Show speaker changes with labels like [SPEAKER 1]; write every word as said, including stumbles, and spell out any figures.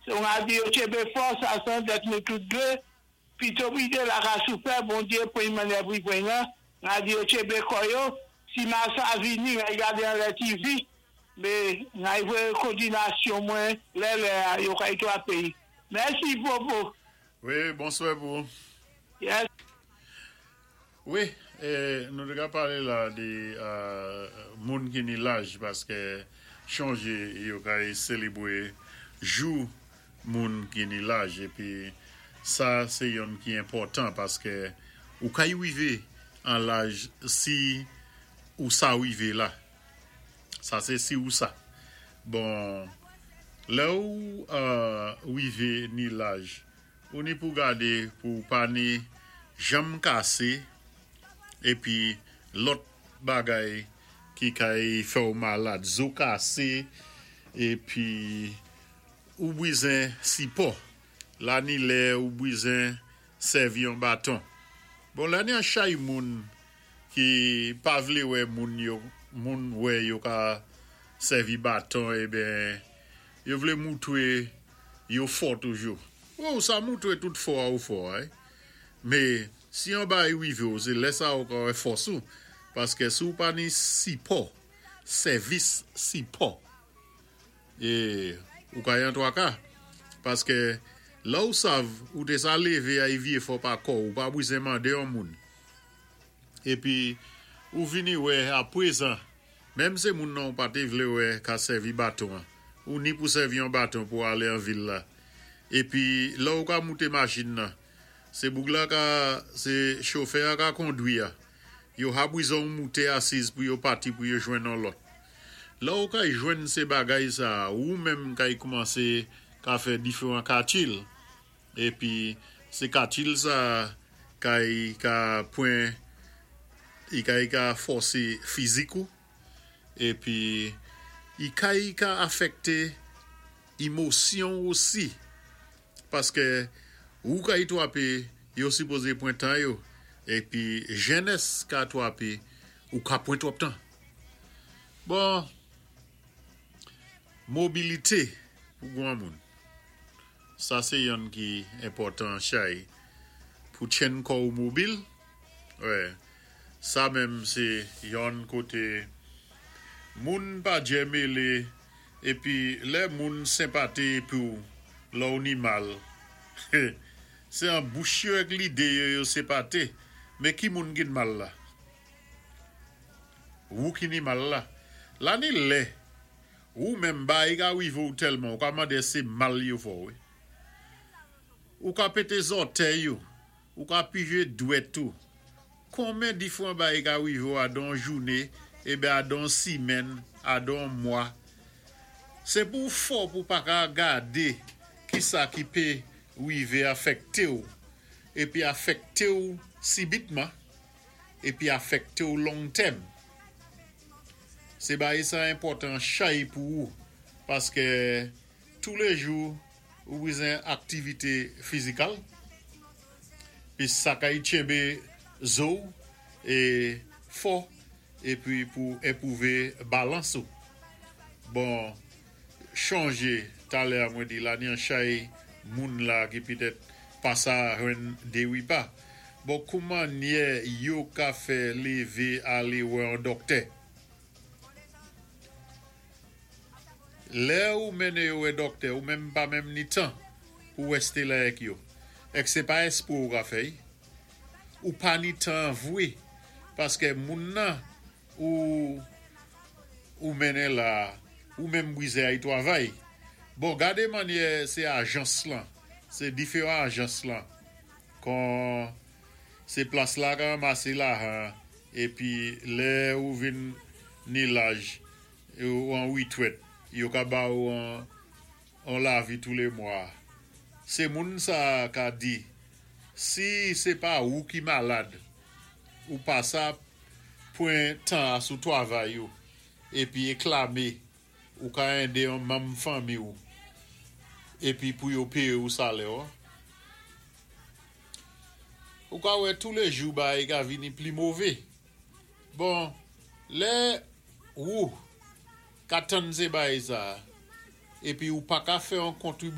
[SPEAKER 1] So an di yo tchénbé fòs asan dèt nou tout dé, pito pité la ka soufè, Bondyé pwen mannè pou pwen nan, an di yo tchénbé kò yo, si ma sa vini, an gadé an lè T V, mé an wè kòdinasyon mwen, lè lè yo kay twapé. Mèsi, Popo.
[SPEAKER 2] Wi, bonswa pou.
[SPEAKER 1] Yes.
[SPEAKER 2] Wi, é, nou té ka palé la dé euh, moun ki ni laj paské chonjé yo kay sélébwé jou moun ki ni laj épi sa sé yonn ki enpòtan paské ou kay wivé an laj si ou sa wivé la. Sa sé si ou sa. Bon, lè ou euh, wivé ni laj, ou ni pou gadé pou pa ni janm kasé épi lòt bagay ki kay fè ou malad, zo kasé épi ou bwizen sipò. La ni lè ou bwizen sèvi yon baton. Bon, la ni an chay moun ki pa vlé wè moun yo, moun wè yo ka sèvi baton, eben, yo vlé moutwé yo fò toujou. Ou sa moutwé tout fò a ou fò, ay. Mé si yon bay wivé ou, sé lè sa ou ka wè fòs ou, paské si ou pa ni sipò, sèvis sipò, é ou ka yon twaka, paské la ou sav, ou té sa lévé ay vyé fò pa kò, ou pa bwizen mandé yon moun. Épi, ou vini wè apwézan, menm sé moun nan ou pa té vlé wè ka sèvi baton, ou ni pou sèvi yon baton pou alé an vil la. Épi, la ou ka mouté machin nan, sé boug la ka, sé chofè a ka kondwi a. Yo ha bwizon mouté asiz pou yo pati pou yo jwenn an lòt. La ou kay jwenn sé bagay sa, ou menm kay koumansé ka fè diferan katil. Épi, sé katil sa kay ka pwen, i kay ka fòsé fizik ou, épi i kay ka afèkté émosyon osi. Paské ou kay twapé, yo sipozé pwen tan yo, épi jènès ka twapé, ou ka pwen twòp tan. Bon, mobilité pou gwan moun. Sa sé yonn ki enpòtan chay pou tjenn kò ou mobil. Wè, sa menm sé yonn koté moun pa djè mélé épi lè moun senpaté pou lò ou ni mal. Sé an bouch yo èk lidé yo yo senpaté, mé ki moun ki mal la? Ou ki ni mal la? La ni lè, ou menm bay ka wivé ou tèlman, ou ka mandé sé mal yo fò, wi. Ou ka pété zòtèy yo, ou ka pijé dwèt ou. Konmen difwan bay ka wivé ou adan jouné, eben adan simèn, adan mwa. Sé pou fò pou pa ka gadé ki sa ki pé wivé afèkté ou, épi afèkté ou sibitman, épi afèkté ou long tèm. Sé bagay sa enpòtan chay pou ou, paské tou lé jou ou bwizen aktivité fizikal, pi sa kay tchénbé zo é fò, épi pou enpwouvé balans ou. Bon, chonjé, talè a mwen di la ni an chay moun la ki pitèt pa sa jwenn dé wipa. Bon, kouman nyè yo ka fè lévé alé wè an dòktè? Lè ou mennen yo wè dòktè, ou menm pa menm ni tan pou wèsté la èk yo. Èk sé pa espwé ou ka fè'y. Ou pa ni tan vwé, paské moun nan ou ou mennen la, ou menm bwizen ay twavay. Bon, gadé mannyè sé ajans lan, sé diferan ajans lan. Kon sé plas la ka ranmasé lajan, épi lè ou vin ni laj, ou an witwèt, yo ka ba ou an, an lavi tou lé mwa. Sé moun sa ka di, si sé pa ou ki malad, ou pa sa pwen tan a sou twavay ou, épi éklamé, ou ka édé yon manm fanmi ou, épi pou yo péyé ou salè ou. Ou ka wè tou lé jou bagay ka vini pli mové. Bon, lè ou ka tann sé bagay sa, épi ou pa ka fè yon kontribi